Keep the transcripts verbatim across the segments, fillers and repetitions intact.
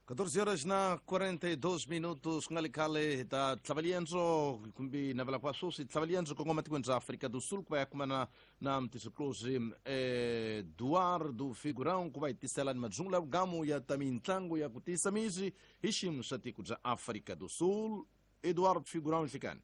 catorze horas na quarenta e dois minutos ku nga ri khale hi ta tlhava liendzo kumbe navela kwa sweswi tlhava liendzo kongoma tikweni ra Afrika do Sul ku va ya kumana na mutisiklosi Eduardo Figurão ku va hi tisela ni madzungu la vugamu ya ta mintlangu ya ku tiyisa misi hi xiyimo xa tiko bya Afrika do Sul. Eduardo Figurão, nhlikani.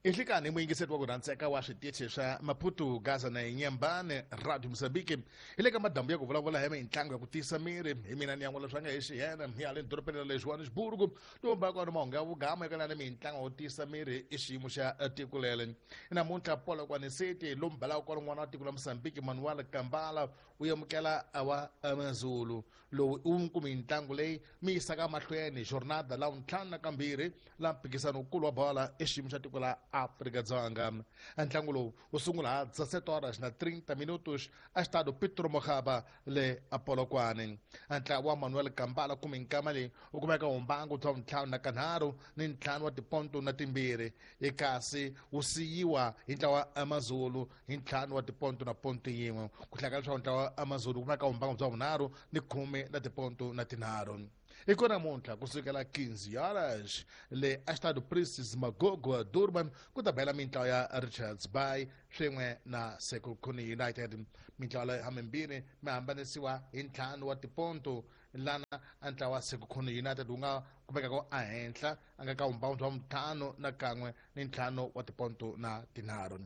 Nhlikani muyingiseri wa ku rhandzeka wa switichi swa Maputo, Gaza na Inhambane, Radio Mozambique. Hi le ka madambu ya ku vulavula hi mitlangu ya ku tiyisa miri. Hi mina ni yan'wala swa nga hi xiyena hi hale dorobeni ra le Johannesburg. Lowu ka mahungu ya vugama eka na mitlangu ya ku tiyisa miri i xiyimo xa tiko lele. Namuntlha Polokwane City lomu balaka kwala n'wana wa tiko la Mozambique Manuel Kambala u amukela wa Amazulu. Lowu u kumi mitlangu leyi mi yisaka mahlweni jornada la ntlhanu na kambirhi la mphikizano wukulu wa bola i xiyimo xa tiko la Afrika Dzonga. Ntlangu lowu wu sungula ha dezessete horas na trinta minutos a Estádio Pedro Mokgaba le Polokwane. Ntlawa wa Manuel Kambala kumi nkama leyi wu kumeka wumbangu bya ntlhanu na kanharhu ni ntlhanu wa tiponto na timbirhi, kasi wu siyiwa hi ntlawa wa Amazulu hi ntlhanu wa tiponto na ponto yin'we. Ku hlaka leswaku ntlawa wa Amazulu wu kumeka wumbangu bya vunharhu ni khume la tiponto na tinharhu. Iko namuntlha kusukela quinze horas le Estádio Princess Magogo Durban ku ta bela mintlawa ya Richards Bay swin'we na Sekhukhune United. Mintlawa leyi hamimbirhi mi hambanisiwa hi ntlhanu wa tiponto, lana a ntlawa wa Sekhukhune United wu nga kumekaka ehenhla a nga ka vumbangu bya ntlhanu na kan'we ni ntlhanu wa tiponto na tinharhu.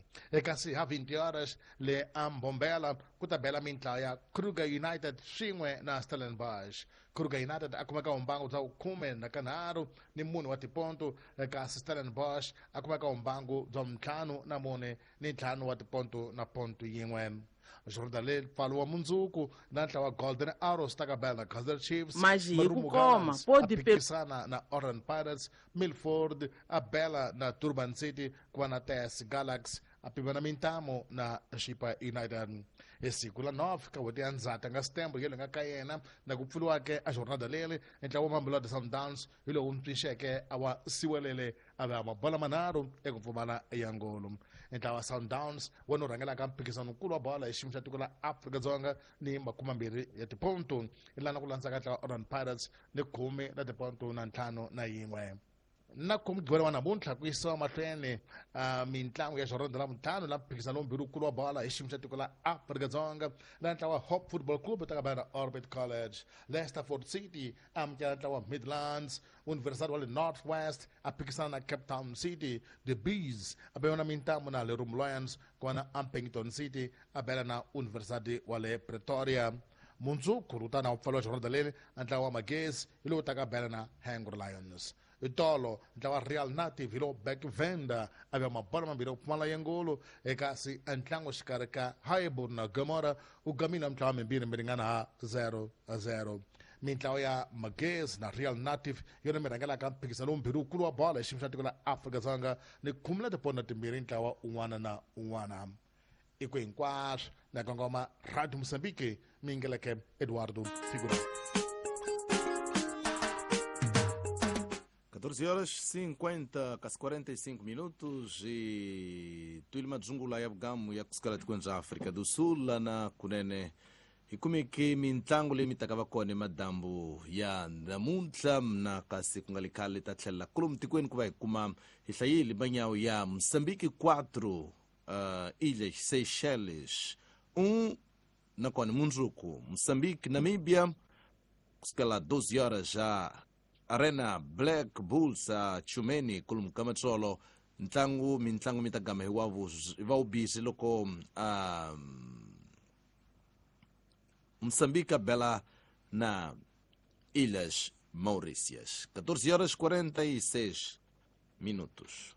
Kasi ha vinte horas le a Mbombela ku ta bela mintlawa ya Kruger United swin'we na Stellenbosch. Kruger United a kumeka vumbangu bya khume na kanharhu ni mune wa tiponto, kasi Stellenbosch a kumeka vumbangu bya ntlhanu na mune ni ntlhanu wa tiponto na ponto yin'we. Jordan le pfalo wa mundzuku na ntlawa Golden Arrows ta ka bela Kaizer Chiefs, Mas hi ku koma podi phikisana na Orlando Pirates, Milford a bela na Durban City, ku va na T S Galaxy a pimana mintamo na Chipa United. Hi siku la nove ka n'hweti ya Ndzhati nga September yele nga ka yena na ku pfuriwake a jornada leli ntlawa wa Mamelodi Sundowns hi lowu ntshunxeke a wa siwelele a va mabola manharhu eku pfumala ya ngolo. Ntlawa wa Sundowns wona wu rhangelaka mphikizano wukulu wa bola hi xiyimo xa tiko la Afrika-Dzonga ni makumembirhi ya tiponto, lana ku landzaka ntlawa Orlando Pirates ni khume la tiponto na ntlhanu na yin'we. Na ku mugqivela wa namuntlha ku yisiwa mahlweni mintlangu ya jornada la ntlhanu la mphikizano lowu mbirhi wukulu wa bola hi xiyimo xa tiko la Afrika-Dzonga, la ntlawa Hope Football Club ta ka bela Orbit College, Leicesterford City amukela ntlawa Midlands, University wa le North West a phikisana na Cape Town City, The Bees a bela na mintambo na Lerumo Lions, kona Ampington City a bela na University wa le Pretoria. Mundzuku wu ta na pfaliwa jornada leri ntlawa wa Magesi hi lowu ta ka bela na Hungry Lions. Itolo ntlawa Real Native hi lowu Back Venda a va mabola mambirhi ku pfumala ya ngolo, kasi ntlangu xikarhi ka Highbury na Gomora wu gamile mintlawa mimbirhi mi ringana ha zero zero. Mintlawa ya Magesi na Real Native yona mi rhangelaka mphikizano lowu wukulu wa bola hi xiyimo xa tiko la Afrika-Dzonga ni khume la tiponto timbirhi ntlawa un'wana na un'wana. I ku hinkwaswo na kongoma Radio Mozambique mi yingeleke Eduardo Figurão. catorze horas cinquenta, quase quarenta e cinco minutos e tuile madzungula ya vugamu ya kusukela tikweni ra Afrika do Sul la na kunene hi kumeke mintlangu leyi mi taka va kona madambu ya namuntlha na kasi ku nga le khale ta tlhelela kolomu tikweni ku va hi kuma hi hlayile manyawu ya Mozambique quatro, uh, Ilhas Seychelles um, nakona mundzuku Mozambique Namíbia kusukela doze horas já Arena Black Bulls a Chumeni kolomu ka matsolo ntlangu mintlangu mi ta gama hi wa va wu busy loko um, Moçambique bela na Ilhas Maurícias. catorze horas quarenta e seis minutos.